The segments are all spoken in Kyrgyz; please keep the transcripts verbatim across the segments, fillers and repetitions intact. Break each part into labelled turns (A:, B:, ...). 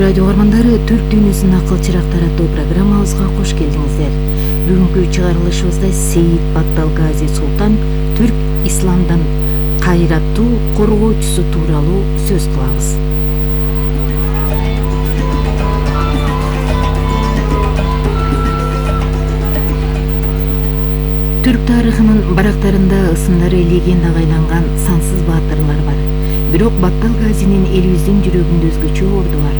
A: радио угармандары, Түрк дүйнөсүнүн акыл чырактары аттуу программабызга кош келдиңиздер. Бүгүнкү чыгарылышыбызда Сейит Баттал Гази Султан түрк исламдын кайраттуу коргоочусу тууралуу сөз кылабыз. Түрк тарыхынын барактарында ысымдары легендага айланган сансыз баатырлар бар. Бирок Баттал Газинин элибиздин жүрөгүндө өзгөчө орду бар.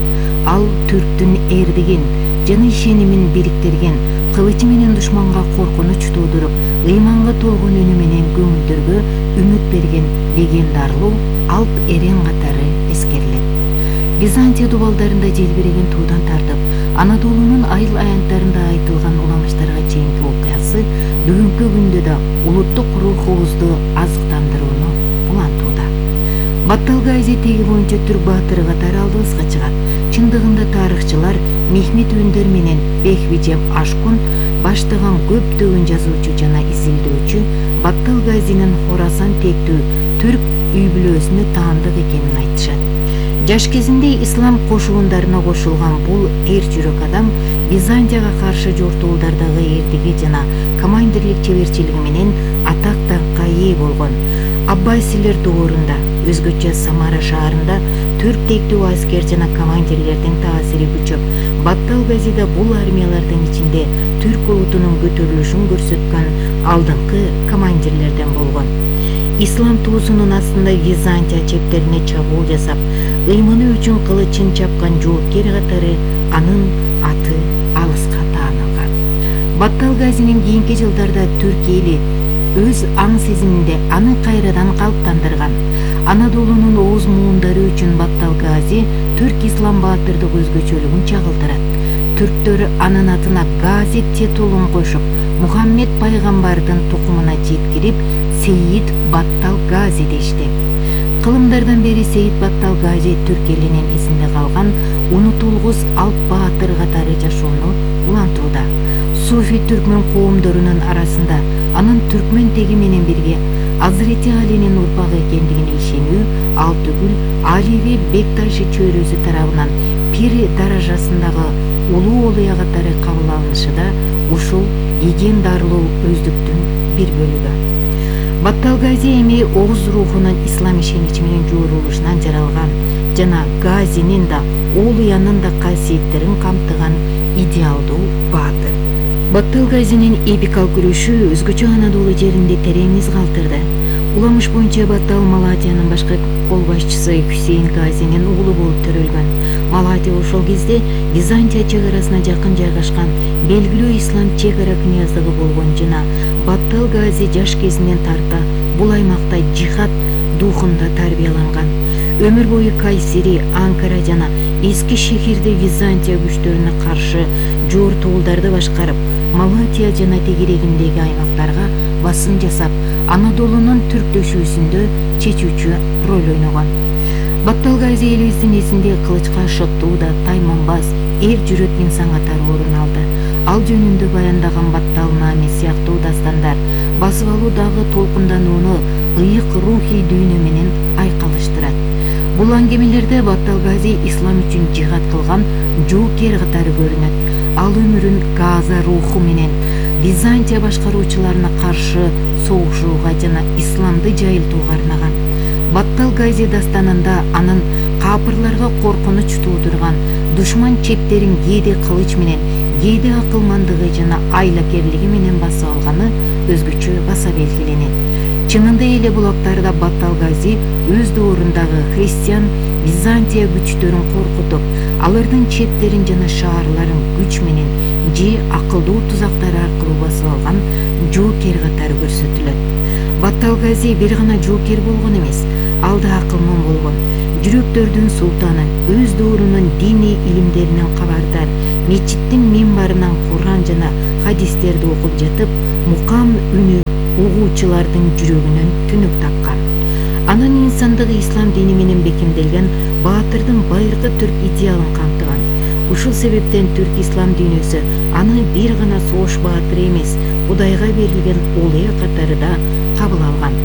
A: Ал түрктүн эрдигин жана ишенимин бириктирген, кылычы менен душманга коркунуч туудуруп, ыйманга толгон үнү менен көңүлдөргө үмүт берген легендарлуу алп эрен катары эскерилет. Византия дубалдарында желбиреген туудан тартып, Анадолунун айыл аянттарында айтылган уламыштарга чейинки окуясы бүгүнкү күндө да улуттук рухубузду азыктандырууну улантууда. Баттал Гази теги боюнча түрк баатыры катары алдыбызга чыгат. Чындыгында тарыхчылар Мехмет Өндер менен Бехвижем Ашкун баштаган көптөгөн жазуучу жана изилдөөчү Баттал Газинин Хорасан тектүү түрк үй бүлөсүнө таандык экенин айтышат. Жаш кезинде ислам кошуундарына кошулган бул эр жүрөк адам Византияга каршы жортуулдардагы эрдиги жана командирлик чеберчилиги менен атак даңкка ээ болгон. Аббасилер доорунда, өзгөчө Самара шаарында түрк тектүү аскер жана командирлердин таасири күчөп, Баттал Гази да бул армиялардын ичинде түрк улутунун көтөрүлүшүн көрсөткөн алдыңкы командирлерден болгон. Ислам туусунун астында Византия чептерине чабуул жасап, ыйманы үчүн кылычын чапкан жоокер катары анын аты алыска таанылган. Баттал Газинин кийинки жылдарда түрк эли өз аң сезиминде аны кайрадан калыптандырган. Анадолунун ооз муундары үчүн Баттал Гази түрк ислам баатырдык өзгөчөлүгүн чагылдырат. Түрктөр анын атына Гази титулун кошуп, Мухаммед пайгамбардын тукумуна жеткирип, Сейит Баттал Гази дешти. Кылымдардан бери Сейит Баттал Гази түрк элинин эсинде калган унутулгус алп баатыр катары жашоону улантууда. Суфи түркмөн коомдорунун арасында анын түркмөн теги менен бирге Азырети Алинин урпагы экендигине ишенүү, ал түгүл Аливи Бекташы чөйрөсү тарабынан пир даражасындагы улуу олуя катары кабыл алынышы да ушул легендарлуу өздүктүн бир бөлүгү. Баттал Гази эми Оғуз рухунун ислам ишеничи менен жуурулушунан жаралган жана Газинин да олуянын да касиеттерин камтыган идеалдуу баатыр. Баттал Газинин эпикалык күрөшү өзгөчө Анадолу жеринде терең из калтырды. Уламыш боюнча Баттал Малатиянын башкы кол башчысы Хусейн Газинин уулу болуп төрөлгөн. Малатия ошол кезде Византия чек арасына жакын жайгашкан белгилүү ислам чек ара князьдыгы болгон жана Баттал Гази жаш кезинен тарта бул аймакта жихад духунда тарбияланган. Өмүр бою Кайсери, Анкара жана эски шехирде Византия күчтөрүнө каршы жортуулдарды башкарып, Малатия жана тегерегиндеги аймактарга басым жасап, Анадолунун түрктөшүүсүндө чечүүчү роль ойногон. Баттал Гази элибиздин эсинде кылычка шоттуу да тайманбас, эр жүрөк инсан катары орун алды. Ал жөнүндө баяндаган Баттал Нами сыяктуу дастандар басып алуу дагы толкунданууну ыйык рухий дүйнө менен айкалыштырат. Бул аңгемелерде Баттал Гази ислам үчүн жихад кылган жоокер катары көрүнөт. Ал өмүрүн Газа руху менен Византия башкаруучуларына каршы согушууга жана исламды жайылтууга арнаган. Баттал Гази дастанында анын капырларга коркунуч туудурган душман чептерин кээде кылыч менен, кээде акылмандыгы жана айлакерлиги менен басып алганы өзгөчө баса белгиленет. Чынында эле бул актарда Баттал Гази өз доорундагы христиан Византия күчтөрүн коркутуп, алардын чептерин жана шаарларын күч менен же акылдуу тузактар аркылуу басып алган жоокер катары көрсөтүлөт. Баттал Гази бир гана жоокер болгон эмес, ал да акылман болгон. Жүрөктөрдүн султаны, өз доорунун диний илимдеринен кабардар, мечиттин минбарынан Куран жана хадистерди окуп жатып, мукам үнү угуучулардын жүрөгүнөн түнүк тапкан. Анын инсандыгы ислам дини менен бекемделген баатырдын байыркы түрк идеалын камтыган. Ушул себептен түрк ислам дүйнөсү аны бир гана согуш баатыры эмес, Кудайга берилген олуя катары да кабыл алган.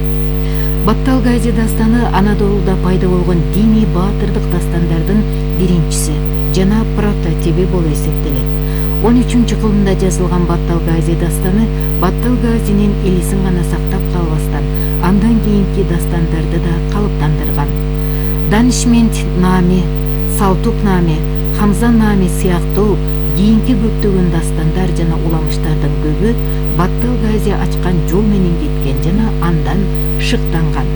A: Баттал Гази дастаны Анадолуда пайда болгон диний баатырдык дастандардын биринчиси жана прототиби болуп эсептелет. он үчүнчү кылымда жазылган Баттал Гази дастаны Баттал Газинин элисин гана сактап калбастан, андан кийинки дастандарды да калыптандырган. Данишмент Наме, Салтук Наме, Хамза Наме сыяктуу кийинки көптөгөн дастандар жана уламыштардын көбү Баттал Гази ачкан жол менен кеткен жана андан шыктанган.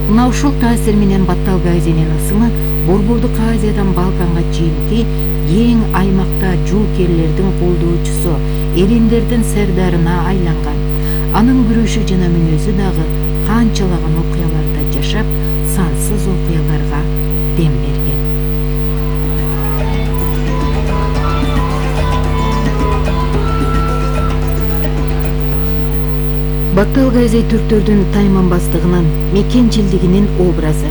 A: Мына ушул таасир менен Баттал Газинин ысымы Борбордук Азиядан Балканга чейинки эң аймакта жуукерлердин колдоочусу, эрендердин сардарына айланган. Анын күрөшү жана мүнөзү дагы канчалаган окуяларда жашап, сансыз окуяларга дем берген. Баттал Гази түрктөрдүн тайманбастыгынын, мекенчилдигинин образы.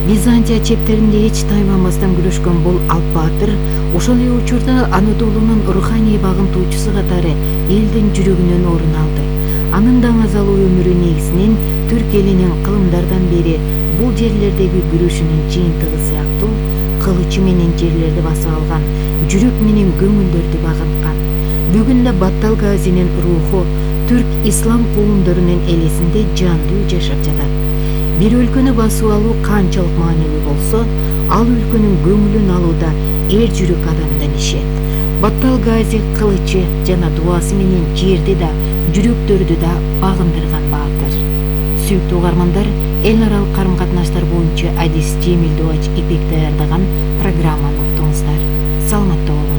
A: Византия чептеринде эч тайманбастан күрөшкөн бул Алп баатыр ошол эле учурда Анадолунун руханий багынтуучусу катары элдин жүрөгүнөн орун алды. Анын даңазалуу өмүрү негизинен түрк элинин кылымдардан бери бул жерлердеги күрөшүнүн жыйынтыгы сыяктуу кылычы менен жерлерди басып алган, жүрөк менен көңүлдөрдү багынткан. Бүгүндө Баттал Газинин руху түрк ислам коомдорунун элесинде жандуу жашап жатат. Бир өлкөнү басып алуу канчалык маанилүү болсо, ал өлкөнүн көңүлүн алууда эр жүрөк адамдын иши. Баттал Гази кылычы жана дуасы менен жерди да, жүрөктөрдү да багындырган баатыр. Сүйүктүү угармандар, эл аралык карым-катнаштар боюнча Адис Жемил Дубач Ипек даярдаган программаны уктуңуздар. Саламатта болуңуздар.